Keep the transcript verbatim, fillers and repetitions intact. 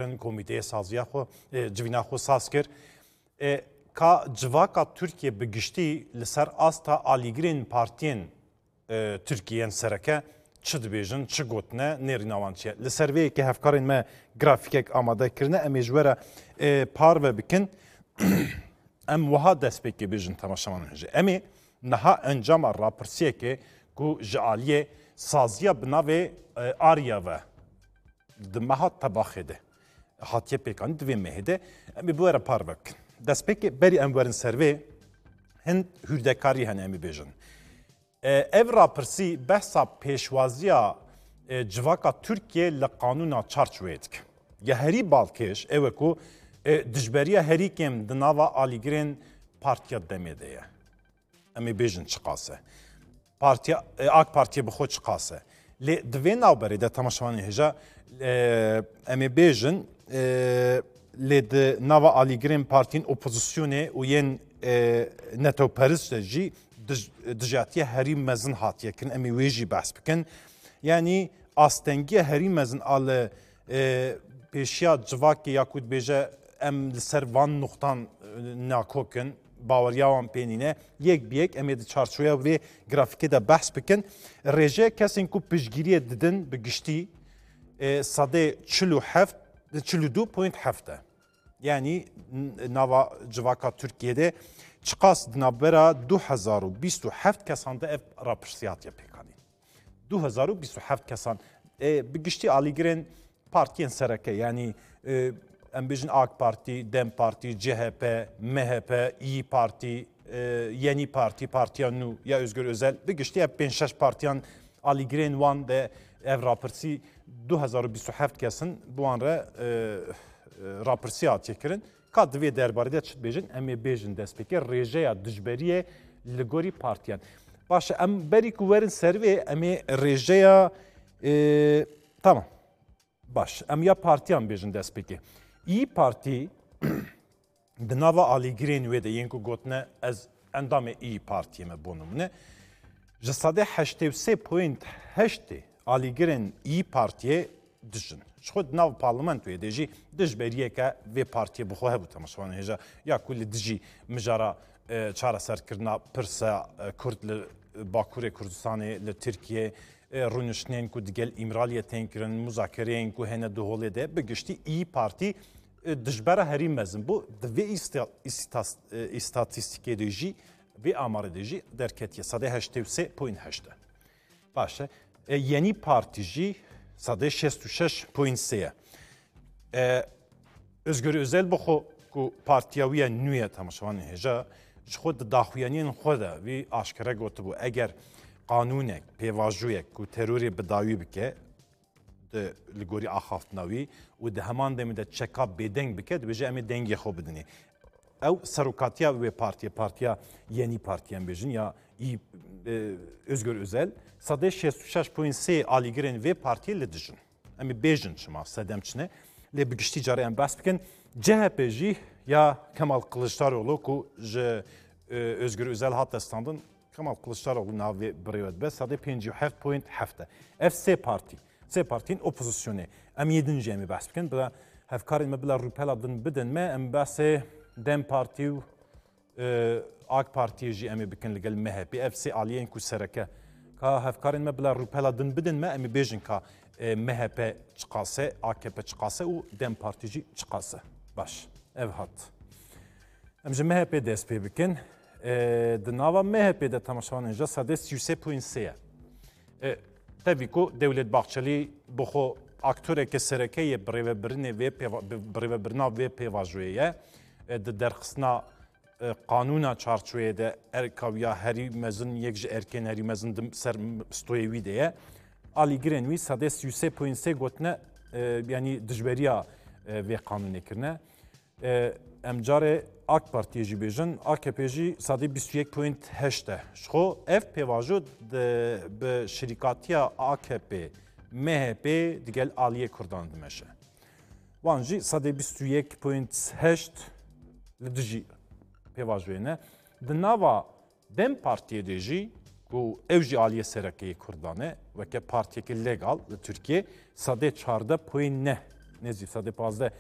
kirin, komîteyê saziya xwe, e, civîna xwe saz kir. E, ka civaka Tirkiye bi giştî li ser asta alîgirên partiyên, e, Tirkiye yên sereke çi dibêjin, çi gotine, nêrîna wan çi ye? Li ser vê yekê hevkarên me grafîkek amade kirine, em ê ji we re, e, parve bikin. Em wiha destpêkê bêjin temaşevanên hêja. Em ê niha encama rapirsiyekê ku ji aliyê saziya bi navê, e, Arya ve di meha Tebaxê de hatiye pêkanîn, di vê mehê de em ê bi we re parve bikin. Destpêkê berî em werin ser vê, hin hûrdekarî hene em ê bêjin. E, ev rapirsî behsa pêşwaziya, e, civaka Tirkiye li qanûna çarçoveyê dike. Ya herî balkêş ew e ku, e, dijberiya herî kêm di nava alîgirên Partiya Demê de ye. Em ê bêjin çiqas e. Partiya, e, AK Partiyê bi xwe çiqas e. Lê di vê navberê de temaşevanên hêja, e, em ê bêjin, e, lê di nava alîgirên partiyên opozisyonê û yên, e, netewperist de jî dij-, dijatiya herî mezin hatiye kirin. Em ê wê jî behs bikin. Yanî astengiya herî mezin a li, e, pêşiya civakê ya ku dibêje em li ser van nuqtan, e, nakok in, baweriya wan pê nîne. Yek bi yek em ê di çarçoveya vê grafîkê de behs bikin. Rêje kesên ku piştgiriyê didin bi giştî, e, sedê çil û heft, çil û du point heft e. Yanî n-, nava civaka Tirkiyê de çiqas di navbera du hezar û bîst û heft kesan de ev rapirsî hatiye pêkanîn. Du hezar û bîst û heft kesan, e, bi giştî alîgirên partiyên sereke, yanî, e, em bêjin AK Partî, DEM Partî, CHP, MHP, İYİ Parti, e, Yeni Parti, Partiya Nû ya Özgür Özel, bi giştî ev pênc şeş partiyan alîgirên wan de ev rapirsî du hezar û bîst û heft kesin bi wan re, e, e, rapirsî hatiye kirin. Ka di vê derbarê de çi dibêjin? Em ê bêjin destpêkê rêjeya dijberiyê li gorî partiyan. Baş e, em berî ku werin ser vê, em ê rêjeya, e, tamam. Baş, em ya partiyan bêjin destpêkê. İYİ Parti di nava alîgirên wê de yên ku gotine ez endamê İYİ Partiyê me bo nimûne, ji sedê heştê û sê point heştê alîgirên İYİ Partiyê dijin. Ji xwe di nav parlamentoyê de jî dijberiyeke vê partiyê bi xwe hebû, temaşevanên hêja, ya ku li dijî mijara, e, çareserkirina pirsa, e, Kurd li Bakurê Kurdistanê, li Tirkiyê, e, rûniştinên ku digel Îmraliyê tên kirin, muzakereyên ku hene di holê de, bi giştî İYİ Partî, e, dijbera herî mezin bû. Di vê îsta-, îstas-, e, îstatîstîkê de jî, vê amarê de jî derketiye. Sedê heştê û sê point heşt e. Baş e. E, Yeni Parti jî sedê şêst û şeş point sê ye. E, Özgür Özel bi xwe ku partiya wî ye nû ye, temaşevanên hêja, ji xwe di daxuyaniyên xwe de wî aşkere gotibû, eger qanûnek, pêvajoyek ku terorê bi dawî bike, di, li gorî axaftina wî û di heman demê de çeka bêdeng bike, dibêje em ê dengê xwe bidinê. Ew serokatiya wê partiyê, partiya Yeni Parti em bêjin ya î, e, Özgür Özel, sedê şêst û şeş point sê alîgirên vê partiyê li dijin. Em ê bêjin çima, sedem çi ne. Lê bi giştî carê em behs bikin. C H P jî ya Kemal Kılıçdaroğlu ku ji, e, Özgür Özel hate standin, Kemal Kılıçdaroğlu navê birêve dibe, sedê pêncî û heft point heft e. Ev sê partî, sê partiyên opozisyonê. Em yê din jî em ê behs bikin. Bila hevkarên me bila rûpela din bidin me, em behsê DEM Partî û, e, AK Partiyê jî em ê bikin li gel M H P. Ev sê aliyên ku sereke. Ka hevkarên me bila rûpela din bidin me, em ê bêjin ka, e, M H P çiqas e, A K P çiqas e û DEM Partî jî çiqas e. Baş, ev hat. Em ji M H P dest pê bikin. E, di nava M H P de temaşevanên ji sedê sî û sê point sê ye. E, tevî ku Dewlet Bahçelî bi xwe aktoreke sereke yê birêvebirinê vê pêva-, bi-, birêvebirina vê pêvajoyê ye. E, di derxistina, e, qanûna çarçoveyê de erka wî ya herî mezin, yek ji erkên herî mezin di ser stoyê wî de ye. Alîgirên wî sedê sî û sê point sê gotine, e, yanî dijberiya, e, vê qanûnê kirine. E, em carê AK Partiyê jî bêjin, A K P jî sedê bîst û yek point heşt e. Ji xwe ev pêvajo di, bi şirîkatiya A K P, M H P digel aliyê Kurdan dimeşe. Wan jî sedê bîst û yek point heşt li dijî pêvajoyê ne. Di nava DEM Partiyê de jî ku ew jî aliyê sereke yê Kurdan e, weke partiyeke legal li Tirkiyê, sedê çardeh point neh nêzî sedê pazdeh